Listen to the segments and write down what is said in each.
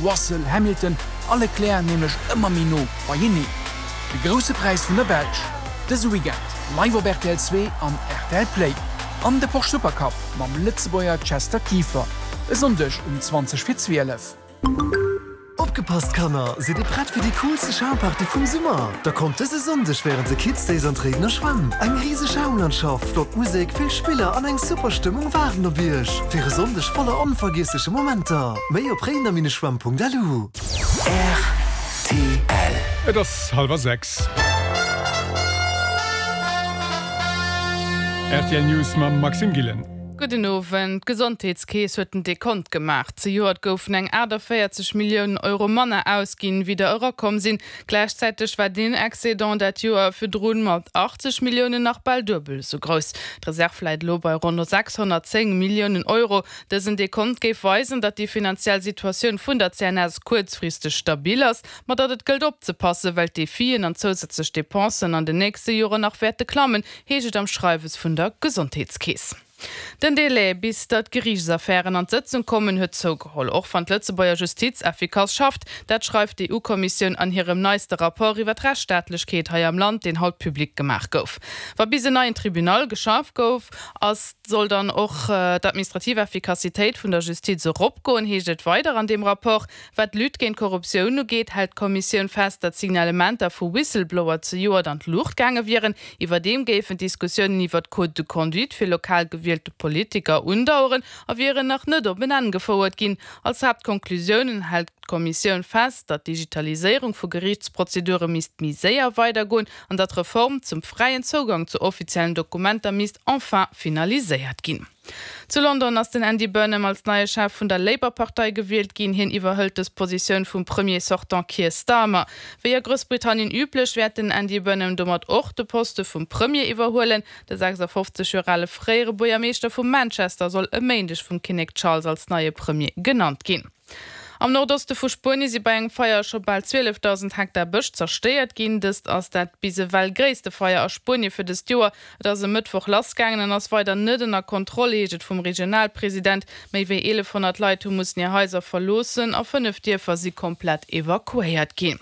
Russell, Hamilton a Leclerc nämlech ëmmer méi no beieneen. De Grousse Präis vun der Belsch dëse Weekend live op rtl 2 an rtl Play. An de Porsche Supercup mam Lëtzebuerger Chester Kieffer e Sonndeg um 20 fir 12. Opgepasst Kanner, sidd dir prett fir déi coolste Schaumparty vum Summer? Da kommt dëse Sonndeg wärend de Kids Days an d'Réidener Schwämm. Eng riseg Schaumlandschaft, flott Musek, vill Spiller an eng super Stëmmung waarden op iech fir e Sonndeg voller onvergiessleche Momenter. Méi op réidener-schwämm.lu. Rtl. Et ass hallwer 6. Rtl News mam Maxime Gillen. Gudden Owend. D'Gesondheetskeess huet den Dekont gemaach. Zejoert goufen eng 48 Milliounen Euro manner ausginn, wéi der erakomm sinn. Gläichzäiteg war deen Excédent dat Joer virdrun mat 80 Milliounen nach bal duebel esou grouss. D'Reserv läit elo bei ronn 610 Milliounen Euro. Dësen Dekont géif weisen, datt déi finanziell Situatioun vun der CNS kuerzfristeg stabil ass, ma datt et gëllt opzepassen, well d'Defien an zousätzlech Depensen an den nächste Joren nach wäerte klammen, heescht et am Schreiwes vun der Gesondheetskeess. Den Delai, bis datt Geriichtsaffären an d'Sëtzung kommen, huet zougeholl, och wann d'Lëtzebuerger Justiz effikass schafft. Dat schreift d'EU-Kommissioun an hirem neiste Rapport iwwer d'Rechtsstaatlechkeet hei am Land, deen haut public gemaach gouf. Wa bis en neien Tribunal geschaf gouf ass, soll dann och d'administrativ Effikassitéit vun der Justiz eropgoen, heescht et weider an deem Rapport. Wat d'Lutte géint d'Korruptioun ugeet, hält d'Kommissioun fest, datt Signalementer vu Whistleblower zejoert an d'Luucht gaange wieren. Iwwerdeem géifen d'Diskussiounen iwwer d'Code de conduite fir lokal gewielte Politiker undaueren a wieren nach net op en Enn gefouert ginn. Als Haaptkonklusiounen hält d'Kommissioun fest, datt d'Digitaliséierung vu Geriichtsprozedure misst méi séier weidergoen an datt d'Reform zum fräien Zougang zu offiziellen Dokumenter misst enfin finaliséiert ginn. Zu London ass den Andy Burnham als neie Chef vun der Labour-Partei gewielt ginn. Hien iwwerhëlt dës Positioun vum Premier sortant Keir Starmer. Wéi a Groussbritannien üblech, wäert den Andy Burnham domat och de Poste vum Premier iwwerhuelen. De 56 Joer ale fréiere Buergermeeschter vu Manchester soll e Méindeg vum Kinnek Charles als neie Premier genannt ginn. Am Nordoste vu Spuenie si bei engem Feier scho bal 12.000 Hektar Bësch zerstéiert ginn. Dëst ass dat bis ewell gréisste Feier a Spuenie fir dëst Joer. Et ass e Mëttwoch lassgaangen an ass weider net ënner Kontroll, heescht et vum Regionalpresident. Méi wéi 1.100 Leit hu mussen hir Haiser verloossen a 5 Dierfer si komplett evakuéiert ginn.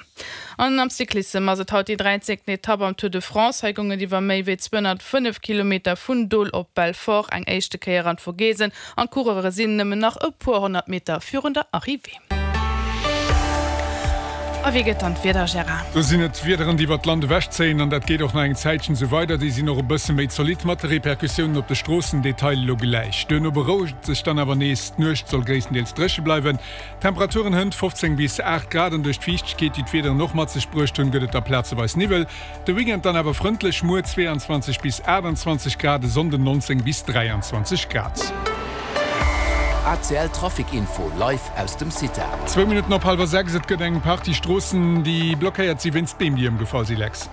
An am Cyclissem ass et haut déi dräizéngten Etapp am Tour de France. Hei goung et iwwer méi wéi 205 Kilometer vun Dole op Belfort eng éischte Kéier an d'Vogesen an d'Coureure sinn nëmmen nach e puer 100 Meter virun der Arrivée. A wéi gëtt dann d'Wieder, Gérard? Do sinn et d'Wiederen, déi iwwert d'Land ewechzéien an dat geet och nach eng Zäitchen esou weider. Déi sinn och e bësse méi zolidd mat de Repercussiounen op de Stroossen. Detail elo gläich. Duerno berouegt et sech dann awer nees. D'Nuecht soll gréisstendeels dréche bleiwen. Temperaturen hënt 15 bis 8 Grad an duerch d'Fiichtegkeet, déi d'Wiederen och mat sech bruecht hunn, gëtt et da plazeweis Niwwel. De Weekend dann awer frëndlech, muer 22 bis 28 Grad, e Sonnden 19 bis 23 Grad. ACL Trafic Info live aus dem CITA. Zwou Minutten op hallwer 6, et gëtt eng Partie Stroossen, déi blockéiert si wéinst Beem, déi ëmgefall si, Lex.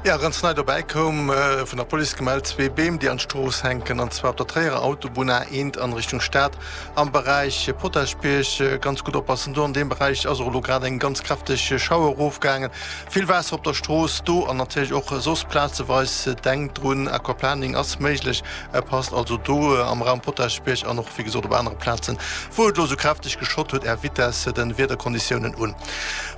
Jo, ganz nei dobäi koum vun der Police gemellt, zwee Beem, déi an d'Strooss hänken, an zwar op der Tréierer Autobunn A1 an Richtung Stad am Beräich Potaschbierg. Ganz gutt oppassen do, an deem Beräich ass och elo grad eng ganz kräfteg Schauer erofgaangen. Vill Waasser op der Strooss do an natierlech och soss plazeweis. Denkt drun, Aquaplaning ass méiglech, passt also do am Raum Potaschbierg an och wéi gesot op anere Plazen, wou et elo esou kräfteg geschott huet, Är Vitesse de Wiederkonditiounen un.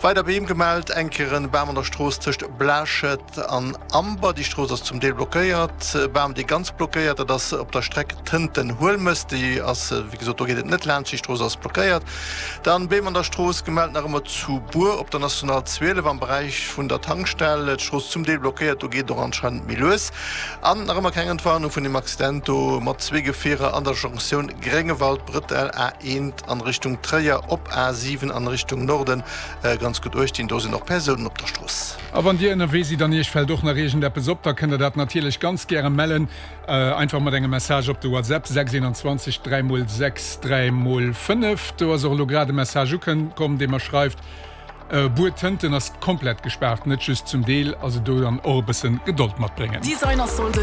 Weider Beem gemellt, eng Kéier e Bam an der Strooss tëscht Blachett an Amber. Déi Strooss ass zum Deel blockéiert. E Bam, dee ganz blockéiert, dat ass op der Streck Tënten-Huelmes. Déi ass, wéi gesot, do geet et net laanscht, déi Strooss ass blockéiert. Dann Beem an der Strooss gemellt nach ëmmer zu Bur op der National 12 am Beräich vun der Tankstell. D'Strooss zum Deel blockéiert, do geet et och anscheinend méi lues. An nach ëmmer keng Entwarnung vun dem Accident do mat zwee Gefierer an der Jonktioun Gréngewald-Brëttel A1 an Richtung Tréier op A7 an Richtung Norden. Ganz gutt uecht dinn, do sinn och Persounen op der Strooss. A wann Dir ënnerwee sidd an Iech fält och nach iergendeppes op, da kënnt der dat natierlech ganz gäre mellen. Einfach mat engem Message op de WhatsApp 6 21 3 mol 6 3 mol 5. Do ass och elo grad e Message ukomm, dee mer schreift, Buer Tënten ass komplett gespaart, net just zum Deel. Also do dann och e bësse Gedold matbréngen. Designersolden.